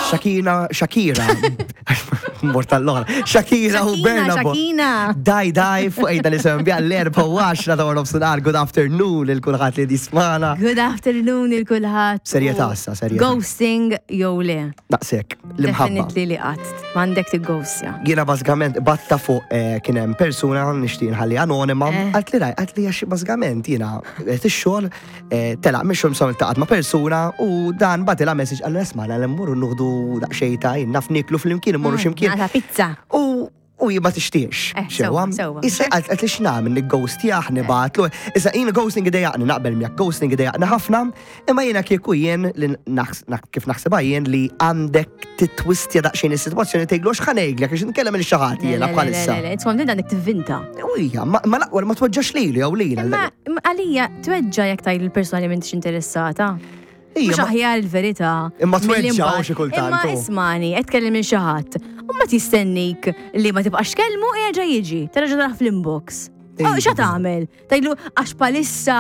Shakira, Shakira. Mort tal-oħra. Shakira u Berna. Shakina. Daj, daj, fuq ejda li sem bja l-4 u 10 ta' nofsinhar. Good afternoon il kulħadd li jismana. Good afternoon il kulħadd. Serjetà issa, serjetà. Ghosting jew le. Daqshekk, l-imħabba. Definitely li qatt. M'għandek tigghostja. Jiena bażikament batta fuq eh, kien hemm persuna nixtieq nħalli anonima, Eh. għalt li raj, għalt li għax bażikament jiena qed ix-xogħol eh, telaq mix-xogħol msom iltaqgħet ma' persuna u dan batilha message qallu esma' l mmorru nuħdu daqsxejn ta' jien naf nieklu flimkien immorru x'imkien. Nagħta pizza. U u jien ma tixtiex. Eh, Xewa. sewwa, sewwa. Issa għalt għalt li x'nagħmel nigghostjah nibgħatlu. Issa jien ghosting idejaqni naqbel miegħek, ghosting idejaqni ħafna, imma jiena kieku jien li naħs- naħ- kif naħsibha jien li għandek titwistja daqsxejn is-sitwazzjoni tgħidlu x'ħa ngħidlek għax nkellem il xi ħadd jiena bħalissa. Tkun din għandek tivvinta. U hija, ma ma l-aqwa li ma tweġġax lilu jew lilha. Imma imma għalija tweġġa jekk tgħid lill-persuna li m'intix interessata. Ija, Mhux ma- aħjar il-verità. Imma milli tweġġa' mbagħad- xi kultant, Imma u. ismani, qed tkellem minn xi ħadd. U ma tistennik li ma tibqax tkellmu u jerġa' jiġi. Terġa' taraħ fl-inbox. Ija. Oh, Xa tagħmel? Tgħidlu għax palissa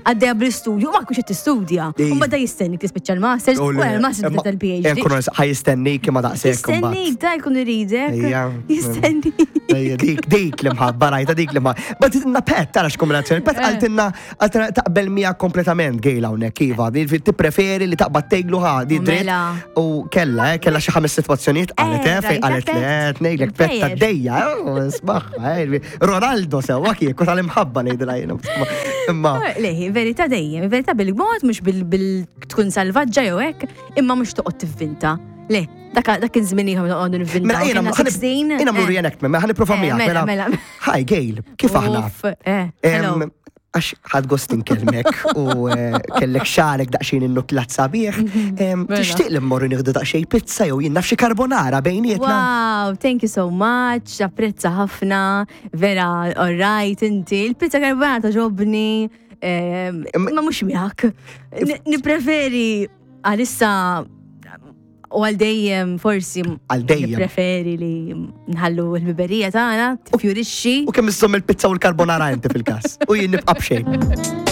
għaddejja bl-istudju, ma kux qed tistudja. Ija. U mbagħad jistennik tispiċċa l-masters, u wara l-masters Imma- tibda l-PhD. Nkunu ħaj jistennik imma daqshekk imbagħad. Jistennik, da jkun iridek. Ija. Jistennik. Ejja, Dik, dik l-imħabba, rajta dik l-imħabba. Bagħtitilna pet, tara x'kombinazzjoni. Pet Eh. qaltilna, qaltilna taqbel miegħek kompletament gejla hawnhekk, iva. Tippreferi li taqbad tgħidlu ħa, di dritt. Mela. U kella, eh, kella xi ħames sitwazzjonijiet qalet, eh, Eh, fej rajta qalet le, pet. tnejlek pet ta' Plejer. dejja, eh, sbaħħa, eh, Ronaldo sewwa kieku tal-imħabba ngħidilha jiena. Imma Leħi, verità dejjem, verità bil-mod, mhux bil tkun salvaġġa jew hekk, imma mhux toqgħod tivvinta. Le, dak dak kien żmien ieħor meta noqogħdu nivvinta. Mela jiena Kienna 16. jiena mmur eh. reenactment, mela ħa nipprova Eh, miegħek. mela, Mela, mela. Hi Gail, kif aħna? Uff, eh, Em, hello. Għax ħad gost inkellmek u eh, kellek xarek daqsxejn innuklat sabiħ. Em, Mela. Tixtieq li mmorru nieħdu daqsxejn pizza jew jien naf xi carbonara bejnietna. Wow, thank you so much, apprezza ħafna, vera, all right, inti, il-pizza carbonara ġobni, ma mux miegħek. N- Nipreferi għalissa u għal dejjem forsi Għal dejjem. Nipreferi li nħallu l-biberija tagħna tifjurixxi. U kemm iżżomm il-pizza u l-carbonara inti fil-każ. U jien nibqa' b'xejn.